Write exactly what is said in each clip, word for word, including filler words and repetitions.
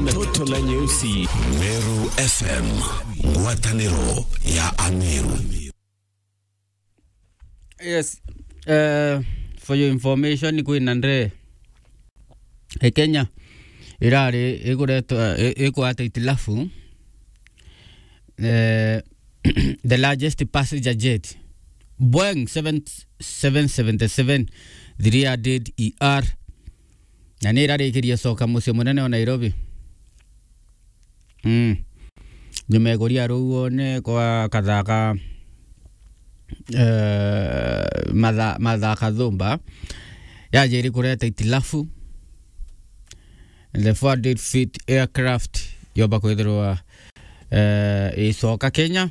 Toto la nyeusi. Meru F M, ngwataniro ya Ameru. Yes. Uh, for your information, kwina ndege e Kenya irari ikuretwa, i-, ikwata itilafu. Eh, the largest passenger jet, Boeing seven, seven seventy-seven three hundred E R, na ni irarikirie coka mucii munene wa Nairobi. Mm. Nyuma ya kuria ruuone kwa kathaka, eh, matha-, mathaka thumba, yajiri kureta itilafu. The four hundred feet aircraft yomba kwithirwa, eh, icoka Kenya.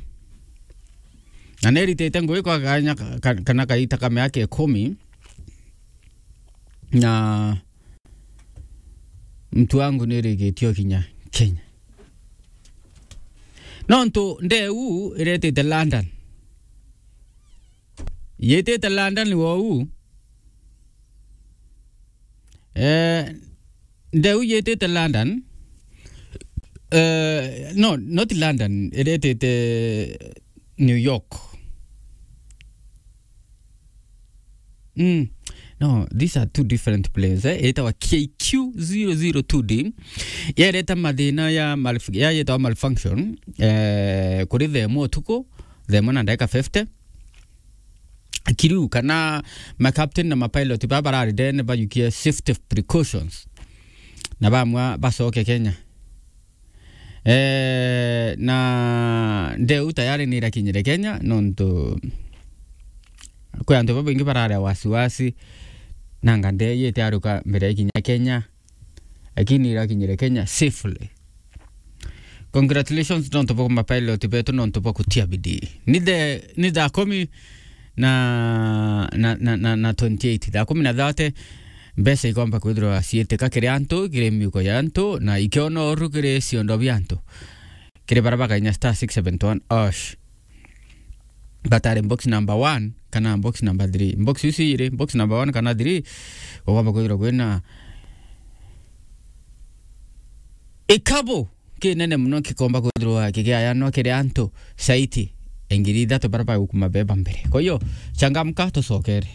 Na niritite ngugi kwa kanya ka-, ka-, kana kaita ka miaka ikumi. Na mtu wangu nirigitio kinya Kenya. Nontu ndeu iretite London. Yitite London wou. Eh, ndeu yitite London. Eh, no, not London, iretite New York. Mm. No, these are two different planes, eh? Itawa K Q zero zero two D. Yereta mathina ya malf-, ya yetawa malfunction, eh, kuri thaa imwe utuku, thaa imwe na ndagika fifty. Crew kana ma captain na ma pilot ba barari ndene bayukie safety precautions. Na bamwa bacoke Kenya. Eh, na ndeu tayari ni irakinyire Kenya, nontu kwi antu babaingi barari wasiwasi, nanga ndege itiaruka mbere ya ikinya Kenya, lakini irakinyire Kenya safely. Congratulations nontu bwa mapilot betu, nontu bwa kutia bidii. Ni the, ni thaa kumi na, na, na, na, na twenty-eight, thaa kumi na thirty, mbeca ikomba kwithirwa ciitika kiri antu, kiri miuko ya antu, na ikiona uru kiri ciondo bia antu. Kiri baria bakainya star six seven one hash. Batari box number one kana box number three. Box ici iri, box number one kana three, ukomba kwithirwa kwina ikabo kinene muno kikomba kwithirwa kigiayanwa kiri antu saiti ngiri ithatu baria bagukuma beba mbere. Kwa hiyo, changamka, tucokere.